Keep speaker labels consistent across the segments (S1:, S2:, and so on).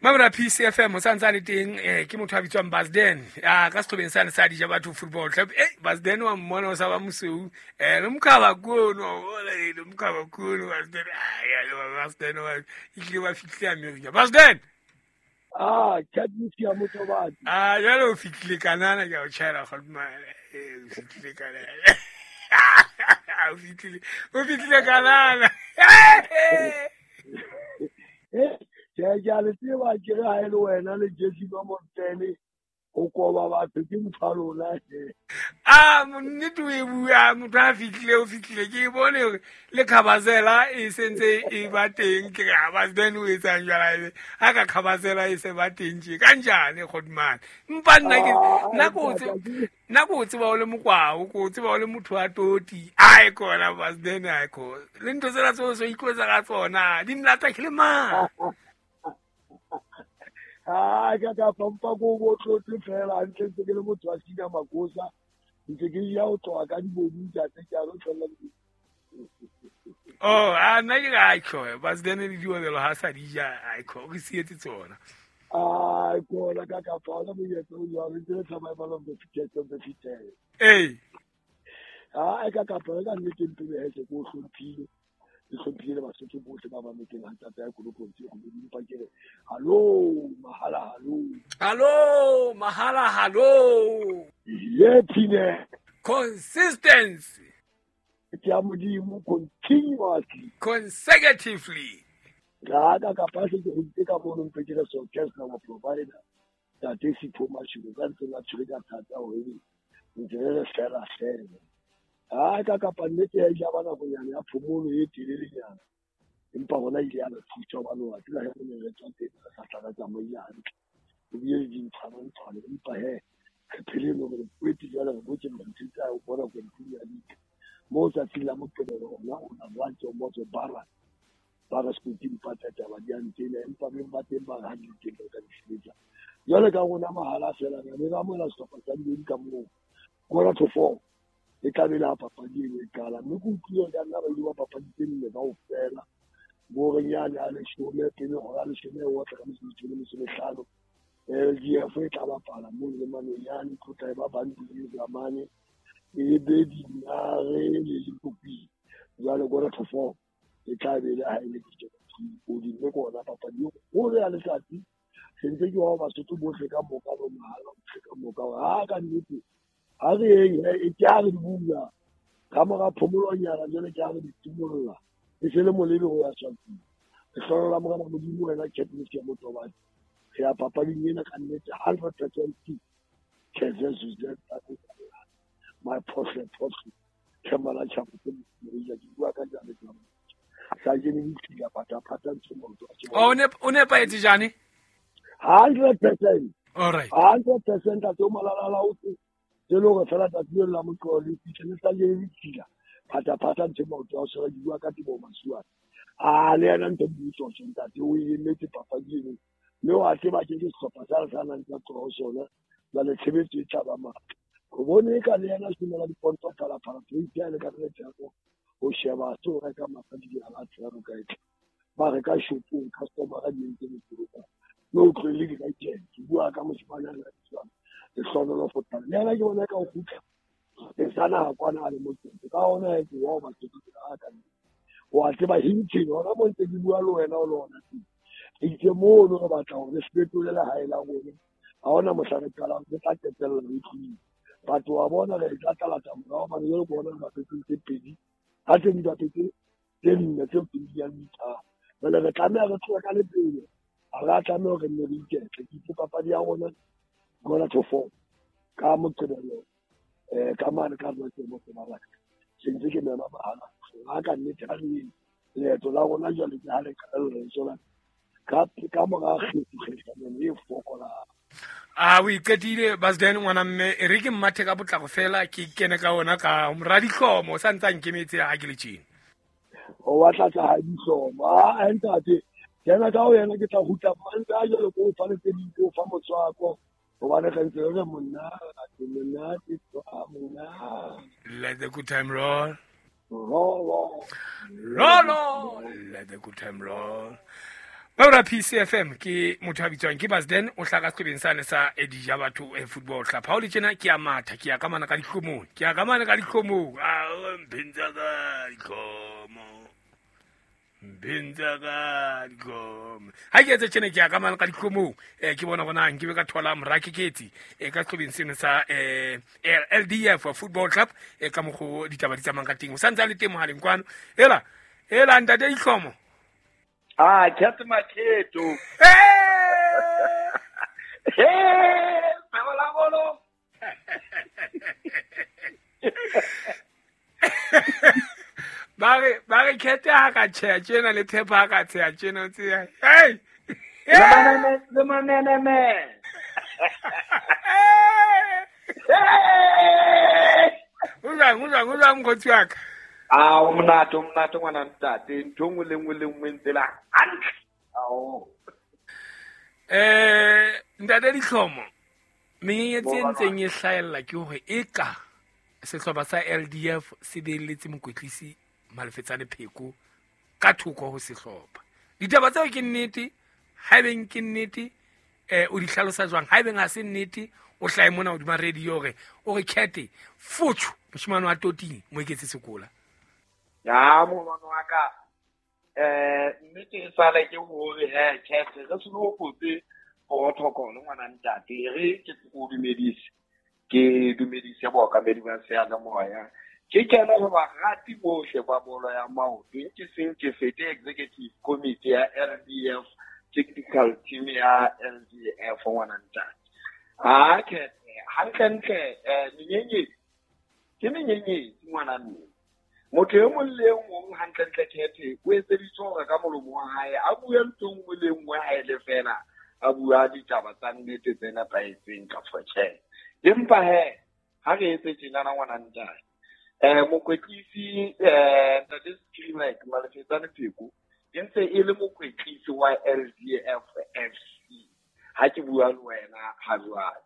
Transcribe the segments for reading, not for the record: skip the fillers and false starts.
S1: Mamela PCFM o sa ntse a le teng ke motho a bitswang Basden a ka setlhobeng sane sa dija batho football club. Basden wa mmona o sa ba mosweu le mokhaba kono le mokhaba kono Basden Basden wa itlile ba fitlile America Basden
S2: ah chat ya motho ba
S1: ah jalo o fitlile kanana ke o tjhaela kgotma o fitlile kanana o fitlile kanana
S2: ke a le tseba ke re ha e le wena le Jesse ba Montene o koba batho ke motho a lona
S1: a nnete o e bua motho a fitlile o fitlile ke bone hore le khabazela e sentse e ba teng ke re ba then o etsang jwala ebe ha ka khabazela e se ba teng tje ka njane kgodimane mpa nna ke nna ko tseba o le mokwao ko tseba o le motho wa toti ai kona ba then ai ko le ntho tsena tso so ikwetsa ka tsona di nlata ke le mang
S2: a ka ka pampa ko bo tlotle fela ntle ntse ke le motho wa sina makosa ntse ke ya o tloa ka dibodu tsa ke a lo tlola.
S1: Oh a nna ke ga tlo ba se ne le diobelo ha sa dija ai ko re sietse tsona
S2: ai kona ka ka fa la monyetla o jwalo ntse le survival of the fittest of the fittest.
S1: Ee
S2: a ka ka fa ka nnete mpele he se ko hlomphile le hlomphile Basotho bohle ba mametseng ha tata ya kolopong tse go dimpa ke re hallo mahala hallo
S1: hallo mahala hallo
S2: ye phine
S1: consistency
S2: ke ya Modimo continuously
S1: consecutively
S2: ga ka ka pa se ke go ka mono mpe ke re so just now provider tate Sipho Mashilo ka ntse la tshwere ka thata hore ntse re fela fela a ka kapa nnete ya ja bana go nyana ya phomolo e telelenyana empa rona ile ya re thusa hobane wa tseba he re ne re tswa teng re sa tla re tsamaile hantle o bile le dintshwanantshwane empa he re phele le hore kwete jwale re botse ntho tsa ho bona kwenteng ya dika mo tsatsing la Moqebelo ona o na lwantse motse bara ba re sekoting patla taba di a ntena empa beng ba teng ba re ha di teng ba ka di sebetsa jwale ka rona mahala fela re ne re amohela sehlopha sa dibedi ka moo 3:45 e tla be le ha papadi eno e qala mme ke utlwile ka nna ba ile ba papadi tse nne kaofela borenyane a leshome pele hora leshome e otla ka metsotso e 15 LDF e tla bapala moo le Manonyane tlotla e ba Bantu le Zamane e be Dinare le Lipopi jwale 3:45 e tla be le ha e le o di mme ke ona papadi e kgolo ya letsatsi se ntse ke wa Basotho bohle ka moka bo mahala bohle ka moka ha ka nnete ha re eng e ke ha re di bula ka mora phomolonyana jwale ke ha re di timolla e se le molebe ho ya Swatini re hlola Morena Modimo wena Katniss ya Motobane re ya papading ena ka nnete 100% my phohle phohle ke mala tjhapa tse ke bua ka jane sa jene di tla pata pata ntse motho
S1: o ne paetse jane
S2: 100%.
S1: All right
S2: 100% a tso malala la o tse le hore fela tsatsi la moqolo le fihle sa jene di tla pata pata ntse motho a se di bua ka tebo masuwa a le yena ntse butso ntate o emetse papadi eno mme wa tseba ke sehlopha sa re nang tsa tloha sona jwale tshebetso e tla ba matla go bone ka le yena simela diponto phala phala tse le ka re tsako o sheba so reka mafadi a batho ba ka etla ba reka shopong customer a di ntse motho no tlohele di ka tjena ke bua ka moshimane a tswa le hlono fo tla le yena ke bona ka o khutla e sana kwana le motho ka ona e ke wa batho ka ka wa tseba hintsheng hona mo ntse ke bua le wena o lona itse mo no re batla hore se fetole le hae la rona ha ona mohla re qalang re tla qetella re tlile batho wa bona re tla tla morao ba re bona ba fetotse pedi ha tse di bapetse tse nne tse pedi ya ditha jwale re tlameha re tlohe ka lepele ha re a tlameha hore nne re iketle ke itse papadi ya rona 3:45 ka Moqebelo ka mane ka rona ke motho ba batla se ntse ke mema mahala ha ka nnete ha re leeto la rona jwale ke ha le qalella re tswela ka mora kgetho e fokolang.
S1: A o iqetile Basden ngwana mme e re ke mmathe ka potlako fela ke kene ka ona ka mora dihlomo sa ntsa nkemetse ha ke le tjena
S2: o batla tsa ha dihlomo a ntate kena ka o yena ke tla hutla mantsa jwale ko fa le tse ding ko fa motswako hobane re ntse re monate monate mona.
S1: Let the good time roll
S2: roll
S1: roll roll, let the good time roll. Ba PCFM ke motho a bitswang ke Basden o hlaka sehlobeng sane sa Edija batho football club. Ha o le tjena ke a matha, ke ya ka mana ka dihlomong, ke ya ka mana ka dihlomong. A mpentsa ka dihlomo. Mpentsa ka dihlomo. Ha ke etse tjena ke ya ka mana ka dihlomong. Ke bona hore na nke be ka thola morakeketsi ka sehlobeng seno sa LDF Football Club ka mokgo ditaba di tsamayang ka teng. O santse a le teng mohaleng kwano. Ela, ela ntate Dihlomo.
S2: Ah, Cat Makheto. Hey! Pebola bolo.
S1: Ba re Cat ha ka tjheha tjena le Pepper ha ka tsheha tjena o tseba. Hey!
S2: Le manene. Hey!
S1: O jwang mokgotsi wa ka?
S2: Ah, o monate ngwana ntate, ntho nngwe le nngwe le nngwe ntse la hantle. Ao.
S1: Ntate Dihlomo, menyenyetsi e ntseng e hlahella ke hore eka sehlopha sa LDF se beelletse mokwetlisi Malefetsane Pheko ka thoko ho sehlopha. Ditaba tseo ke nnete, haebeng ke nnete, o di hlalosa jwang? Haebeng ha se nnete, o hlahe mona hodima radio hore o re Kete fotho moshemane wa Toting mo eketse sekola.
S2: Ya molwana wa ka, nnete e sale ke hore he Kete re se no kotse protocol ngwana ntate, re ke o dumedise, ke dumedise bookamedi ba seyalemoya. Ke kena ho barati bohle ba bolo ya maoto, ke seng ke fete executive committee ya LDF, technical team ya LDF ngwana ntate. Ah, Kete hantlentle menyenyetsi ke menyenyetsi ngwana mme. Motho e mong le e mong hantlentle Kete o etseditswe hore ka molomo wa hae a bue ntho nngwe le nngwe ha e le fela a bua ditaba tsa nnete tse nepahetseng ka tjhe. Empa he ha re etse tjenana ngwana ntate, mokwetlisi ntate Screamike Malefetsane Pheko e ntse e le mokwetlisi wa LDF FC. Ha ke bua le wena ha jwale,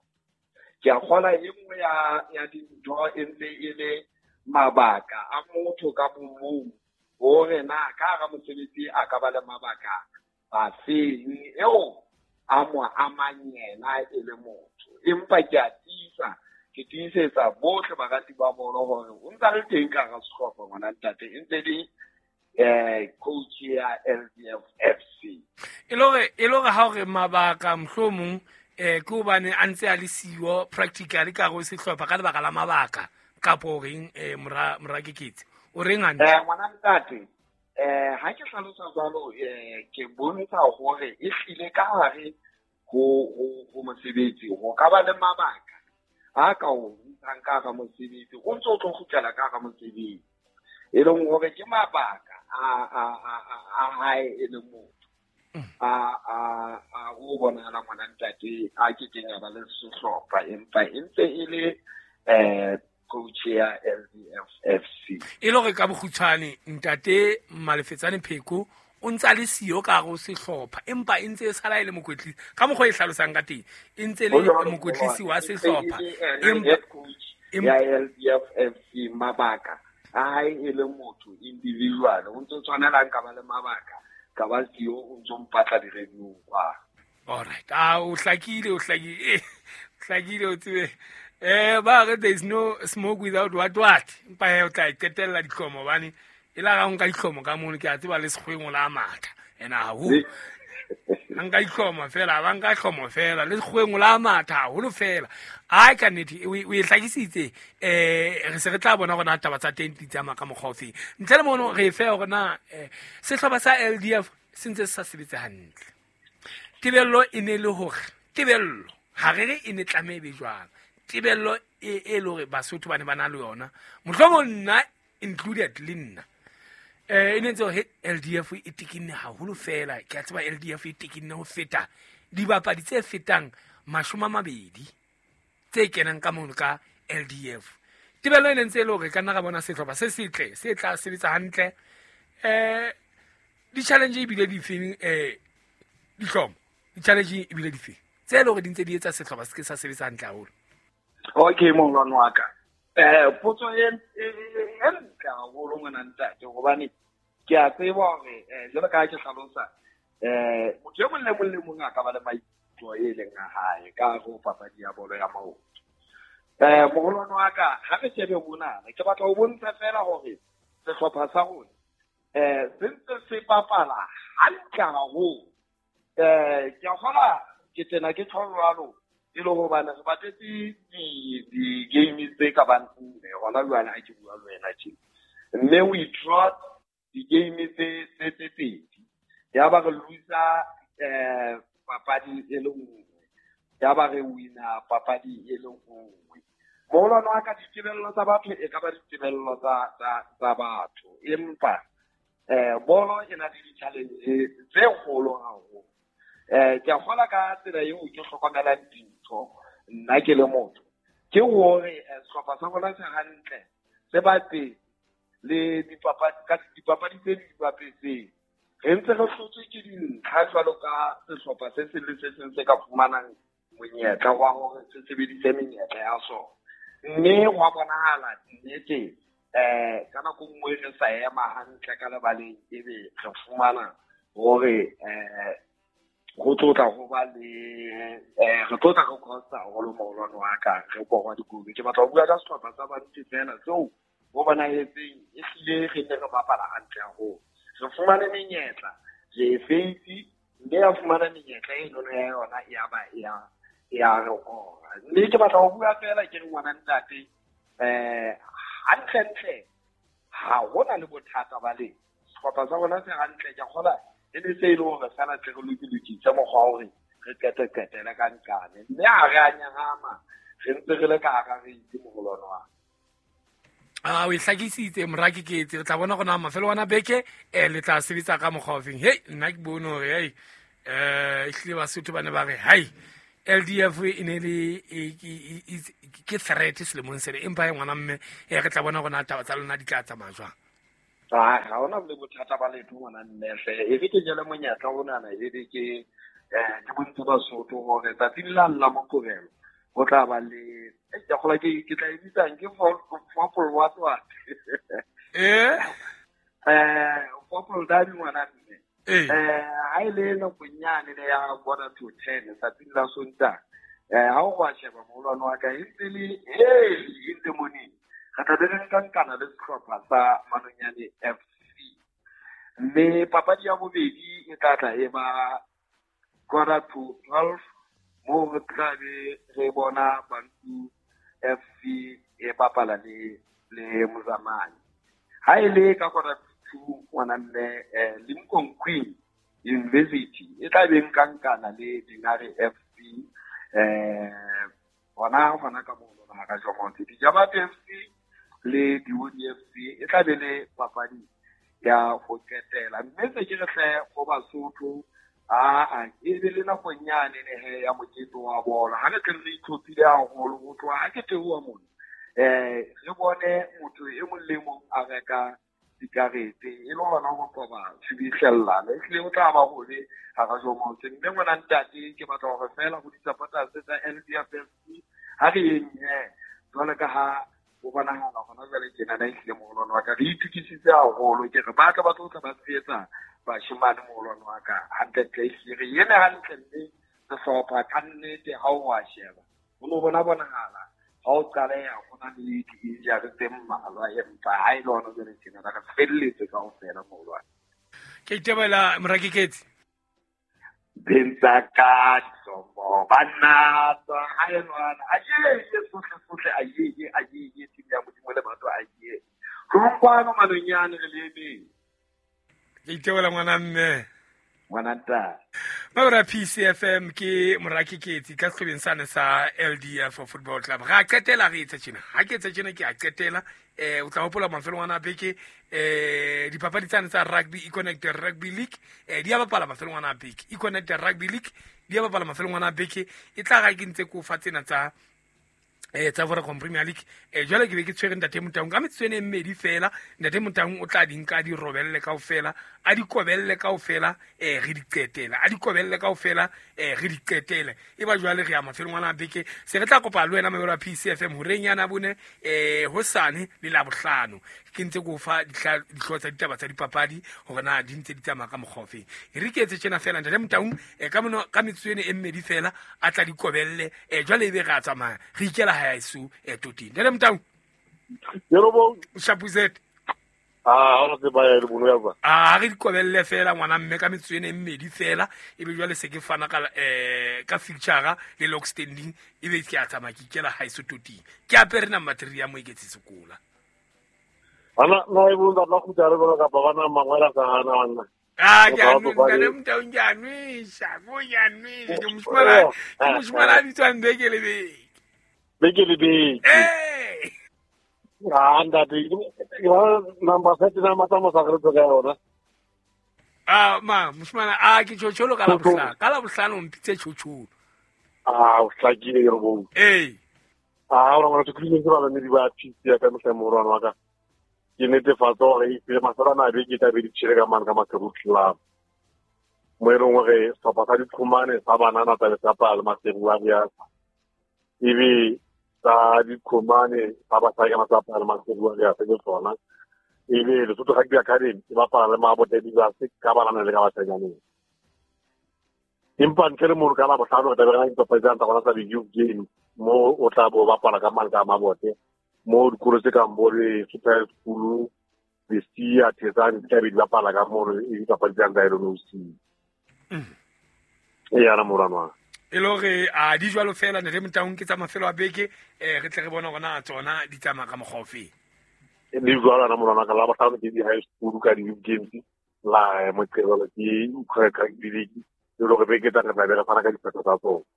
S2: ke a kgola e nngwe ya dintho e ntse e le mabaka a motho ka bomong hore na ka hara mosebetsi a ka ba le mabaka a feng eo a mo amang yena e le motho. Empa ke a tiisa, ke tiisetsa bohle barati ba bolo hore o ntsa le teng ka hara sehlopha ngwana ntate, e ntse le coach ya LDF FC.
S1: E le hore ha o re mabaka mohlomong ke hobane a ntse a le siyo practically ka hare ho sehlopha ka lebaka la mabaka kapo o reng mora Keketsi o reng hantle?
S2: Ngwana ntate, ha ke hlalosa jwalo, ke bontsha hore e hlile ka hare ho mosebetsi ho ka ba le mabaka a ka o ntshang ka hara mosebetsi, o ntso o tlo kgutlela ka hara mosebetsi, e leng hore ke mabaka a hae e le motho a o bonahala ngwana ntate a ke keng a ba le sehlopha, empa e ntse e le coach ya LDF FC.
S1: E le hore ka bokgutshwane ntate Malefetsane Pheko o ntse a le siyo ka hare ho sehlopha, empa e ntse e sala e le mokwetlisi ka mokgwa e hlalosang ka teng, e ntse le mokwetlisi wa sehlopha
S2: empa ya LDF FC. Mabaka a hae e le motho individual, o ntse tshwanelang ka ba le mabaka ka ba siyo, o ntso mpatla di-radio kwa.
S1: All right, o hlakile, o tsebe. Ba re there is no smoke without what. Empa he o tla e qetella dihlomo hobane e la ga o nka dihlomo ka mono, ke a tseba le sekgweng o la matha. Ena haholo. Ha nka dihlomo fela, ba nka hlomo fela, le sekgweng o la matha haholo fela. Ai ka nnete, o e hlakisitse, re se re tla bona hore na taba tsa teng di tsamaya ka mokgwa ofe. Ntle le mono re fe hore na sehlopha sa LDF se ntse se sa sebetse hantle. Tebello e ne le hore, tebello ha re re e ne tlameha e be jwang. Tebello e le hore Basotho ba ne ba na le yona, mohlomong nna included le nna, e ne ntse hore LDF e tekinne haholo fela. Ke a tseba LDF e tekinne ho feta dibapadi tse fetang 20 tse kenang ka mono ka LDF. Tebello e ne ntse e le hore ka nna ra bona sehlopha se setle se tla sebetsa hantle. Di-challenge ebile difeng, dihlomo, di-challenge ebile difeng tse e le hore di ntse di etsa sehlopha se ke sa sebetsa hantle haholo?
S2: Okay, molwana wa ka, potso e ntle haholo ngwana ntate, hobane ke a tseba hore jwalo ka ha ke hlalosa Motho e mong le mong le mong a ka ba le maikutlo e leng a hae ka ho papadi ya bolo ya maoto. Moholwane wa ka, ha re shebe monana, ke batla ho bontsha feela hore sehlopha sa rona se ntse se bapala hantle haholo. Ke a kgola ke tena ke tjho jwalo e le hobane re bapetse di-game tse ka bang nne hona jwale ha ke bua le wena tje. Mme we trot di-game tse pedi. Ya ba re loser papadi e le nngwe, ya ba re wina papadi e le nngwe. Moholwane wa ka, ditebello tsa batho e ka ba ditebello tsa batho, empa bolo e na le di-challenge tse kgolo haholo. Ke a kgola ka tsela eo ke hlokomelang dintho nna ke le motho, ke hore sehlopha sa rona se hantle, se bapetse le dipapadi tse di bapetseng. Re ntse re hlotswe ke dintlha jwalo ka sehlopha se seng le se seng se ka fumanang monyetla wa hore se sebedise menyetla ya sona. Mme hwa bonahala nnete ka nako nngwe re sa ema hantle ka lebaleng, ebe re fumana hore ho tlotla ho ba le re tlotla re costa haholo moholwane wa ka, re korwa dikolo. Ke batla ho bua ka sehlopha sa Bantu feela seo ho bonahetseng ehlile re ne re bapala hantle haholo. Re fumane menyetla, re e feitse, mme ya fumana menyetla e nono ya yona ya ba ya re kora. Mme ke batla ho bua feela ke re ngwana ntate, hantlentle ha hona le bothata ba le sehlopha sa rona se hantle. Ke a kgola e ne se e le hore feela tle re lokilokise mokgwa wa hore re qeteqetele ka nqane, mme ha re a nyahama, re ntse re le ka hara reitse moholwane wa ka.
S1: O e hlakisitse moraki ke etse, re tla bona gona mafelo wa beke le tla sebetsa ka mokgwa ofeng. Hei, nna ke bone hore hei ehlile Basotho ba ne ba re hai LDF e ne le ke threat selemong sena, empa e ngwana mme re tla bona gona taba tsa lona di tla tsamaya jwang.
S2: Ha hona le bothata ba letho ngwana mme hle, e re ke jele monyetla onana, e be ke ke bontshe Basotho hore tsatsing la la Moqebelo ho tla ba le ke kgola ke tla e bitsang ke football what what. Football derby ngwana mme. Ha e le nakonyane le ya 9:45 tsatsing la Sontaha. Ha o wa sheba moholwane wa ka e ntse le early in the morning. Re tla be re nka nkana le sehlopha sa Manonyane FC. Mme papadi ya bobedi e tla tla e ba 11:45 moo re tla be re bona Bantu FC e bapala le Mozamane. Ha e le ka 1:45 ngwana mme Lincoln Queen University e tla be nka nkana le Dinare FC hona ka moo lona hara Jomonte. Dijabate FC le Diodi FC e tla be le papadi ya ho qetela. Mme se ke re hle ho Basotho e be le nakonyane ne ya mokete wa bolo. Ha re tle re itlhophile haholo ho tloha ha ke theoha mona, re bone motho e mong le mong a reka dikarete e le hona ho qoba tshubuhlellano. Ehlile ho tla ba hole hara Jomonte. Mme ngwana ntate, ke batla hore feela ho di-supporters tsa LDF FC ha re yeng jwalo ka ha ho bonahala hona jwale tjenana ehlile moholwane wa ka re itukisitse haholo. Ke re ba tla ba tlo tla ba tshehetsa bashemane moholwane wa ka hantlentle, ehlile re eme hantle mme sehlopha ka nnete ha o wa sheba ho no bona bonahala ha o qaleha ho na le di-injury tse mmalwa, empa ha e le hona jwale tjenana re felletse kaofela moholwane.
S1: Ke itebela Morakeketsi.
S2: Bentsa ka disomo banna tswa ha e lwana a ye sohle sohle a ye a ye team ya Modimo le batho a ye tlong kwano Manonyane re le emeng.
S1: Ke itebela ngwana mme.
S2: Ngwana ntate.
S1: Mabra PCFM ke Morakeketsi ka sehlobeng sane sa LDF Football Club. Ra qetela re etsa tjena. Ha ke etsa tjena ke a qetela. O tla hopola mafelong ana a beke dipapadi tsane tsa rugby Econnect Rugby League di a bapala mafelong ana a beke. Econnect Rugby League di a bapala mafelong ana a beke. E tla ga ke ntse ko fa tsena tsa Tsa Vodacom Premier League. Jwale ke be ke tshwere Ntate Motaung ka metsotso ena e mmedi fela. Ntate Motaung o tla di nka a di robelle kaofela, a di kobelle kaofela, re di qetele, a di kobelle kaofela, re di qetele. E ba jwale re ya mafelong ana a beke, se re tla kopa le wena mamelo wa PCFM horeng yana bone, hosane le Labohlano. Ke ntse ke o fa dihlooho tsa ditaba tsa dipapadi hore na di ntse di tsamaya ka mokgwa ofeng. E re ke etse tjena fela Ntate Motaung, ka mono, ka metsotso ena e mmedi fela a tla di kobelle, jwale ebe re a tsamaya re ikela ha eso, toteng. Ntate Motaung.
S2: Yebo.
S1: Shapuzet.
S2: Ah, ha re ba ya le bono ya ba.
S1: Ah, re di kobelle fela ngwana mme ka metsotso ena e mmedi fela, ebe jwale se ke fana ka fixture le log standing, ebe ke a tsamaya ke ikela ha eso toteng. Ke apere number 3 ya Moeketsi Sekola.
S2: Ana na e bunda la go tare ba ka ba bana mangwela ka hana wanna.
S1: Ah, ke a
S2: Ba
S1: nwe,
S2: ba
S1: ntate Motaung, ke a nwesha, ko ke a nwesha, ke moshimana, ke moshimana a bitswang beke le beke.
S2: Beke le beke.
S1: Eh.
S2: Ah, ntate, ke ba number 7 na matsa mo sa re ka yona.
S1: Ah, ma, moshimana, ah, ke tjhotjholo ka la bohlano. Ka la bohlano o mpitse tjhotjholo.
S2: Ah, o hlakile ke re bo.
S1: Ee.
S2: Ah, o rongwana ke ba ba ba PC ya ka mohla morwana wa ka. Ke netefatsa hore e pele masala na beke tla be di tjhele ka mane ka Maseru Club. Mo e leng hore sehlopha sa diqhomane sa banana tla be sa bapala le Maseru Warriors. Ebe sa diqhomane sa basadi ka sa bapala le Maseru Warriors ke tsona. Ebe Lesotho Rugby Academy e bapala le Mabote Divas ka banana le ka basanyaneng. Empa ntle le mono ka Labohlano re tla be re na le dipapadi tsa rona tsa di-youth games mo o tla bo bapala ka mane ka Mabote. Mo dikolo tse kang bo le Super School, Lesia, Thetsane di tla be di bapala ka mono, e dipapadi tsa tsa LNOC. E yana morwana wa ka.
S1: E le hore a di jwalo fela Ntate Motaung ke tsa mafelo a beke, re tle re bone hore na tsona di tsamaya ka mokgwa ofe.
S2: Di jwalo yana morwana wa ka, Labohlano ke di-high school ka di-youth games, la Moqebelo ke Ukraine Rugby League, e le hore beke tsa re tla be re fana ka diphetho tsa tsona.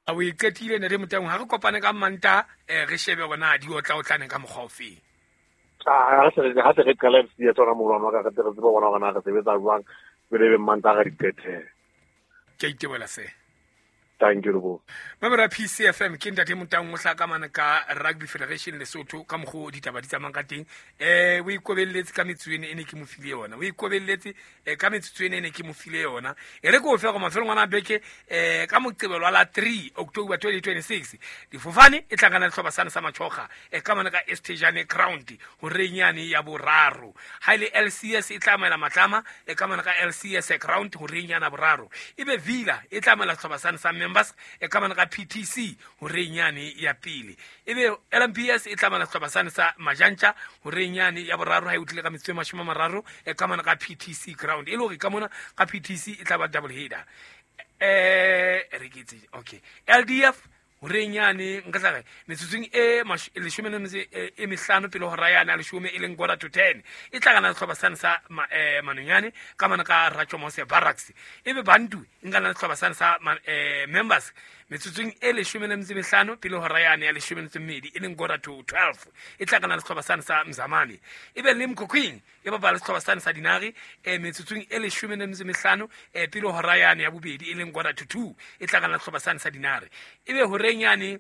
S1: A o e qetile Ntate Motaung, ha re kopane ka Mantaha, re shebe hore na di otla-otlane ka mokgwa ofe.
S2: Ah, ha se re qala FC ya tsona morwana wa ka, re tle re tsebe hore na re sebetsa jwang, pele ebe Mantaha re di qetele.
S1: Ke a itebohela se.
S2: Thank you, Lebo.
S1: Mamela PCFM ke Ntate Motaung o hlaka mane ka Rugby Federation Lesotho ka mokgwa o ditaba di tsamayang ka teng. O ikobelletse ka metsotso ena e ne ke mo file yona. O ikobelletse, ka metsotso ena e ne ke mo file yona. E re ke o fe hore mafelong ana a beke, ka Moqebelo wa la 3 October 2026, difofane e tlangana le sehlopha sane sa Matjhoga, ka mane ka Estejane Ground horeng yane ya boraro. Ha e le LCS e tla amohela Matlama, ka mane ka LCS Ground horeng yana boraro. Ebe Villa e tla amohela sehlopha sane sa Members, ka mane ka PTC horeng yane ya pele. Ebe LMPS e tla amohela sehlopha sane sa Majantja horeng yane ya boraro ha e utlwile ka metsotso e mashome a mararo, ka mane ka PTC Ground. E le hore ka mona ka PTC e tla ba double header. Re ke tse, okay. LDF horeng yane nka tla re metsotsong e leshome le metso e mehlano pele hora yane ya leshome e leng quarter to ten, e tla kana sehlopha sane sa Manonyane ka mane ka Ratjomose Barracks. Ebe Bantu e nkana le sehlopha sane sa Members metsotsong e leshome le metso e mehlano pele hora yane ya leshome le metso e mmedi e leng quarter to twelve, e tla kana le sehlopha sane sa Mzamane. Ebe le Mkhokhwing e bapala le sehlopha sane sa Dinare, metsotsong e leshome le metso e mehlano, pele hora yane ya bobedi e leng quarter to two, e tla kana le sehlopha sane sa Dinare. Ebe horeng yane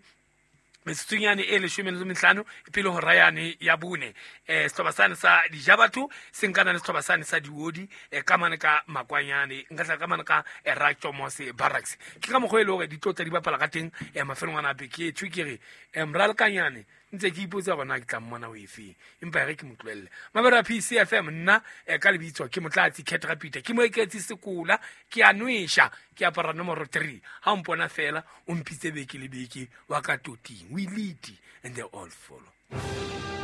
S1: metsotsong yane e leshome le metso e mehlano pele hora yane ya bone, sehlopha sane sa Dijabatho se nkana le sehlopha sane sa Diodi, ka mane ka Makwanyane, nka tla ka mane ka, Ratjomose Barracks. Ke ka mokgwa e le hore di tlotla di bapala ka teng, mafelong ana a beke. Ke tjho ke re, Moralekanyane ntse ke ipotsa hore na ke tla mmona o efeng, empa e re ke mo tlohelle. Mabero a PCFM nna, ka lebitso ke Motlatsi Cat Rapita, ke Moeketsi Sekola, ke a nwesha, ke apara nomoro 3. Ha o mpona fela o mpitse beke le beke wa ka toting. We lead and they all follow.